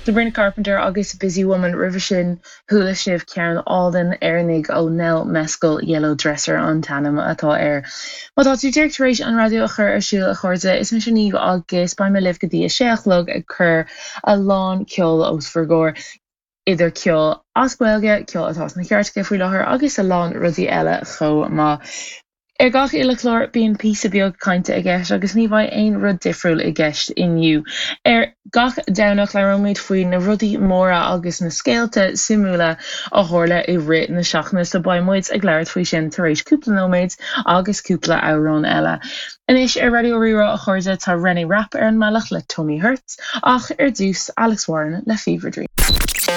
Sabrina Carpenter agus Busy Woman roimhe sin chuala sibh ceann álainn Éireannaigh ó Nell Mescal, Yellow Dresser an t-ainm atá air. Má tá tú díreach tar éis an raidió a chur ar siúl a chairde, is mise Niamh agus beidh mé libh go dtí a sé a chlog ag cur a lán ceoil os bhur gcomhair, idir ceol as Gaeilge, ceol atá sna cairteacha faoi láthair agus a lán rudaí eile chomh maith. Ar gach uile chlár bíonn píosa beag cainte i gceist agus ní bheidh aon rud difriúil i gceist inniu. Ar gach Domhnach labhróimid faoi na rudaí móra agus na scéalta suimiúla a tharla i rith na seachtaine so beidh muid ag labhairt faoi sin tar éis cúpla nóiméad agus cúpla amhrán eile. Anois ar Raidió Rí-Rá a chairde tá Reneé Rapp ar an mbealach le Tummy Hurts ach ar dtús Alex Warren le Fever Dream.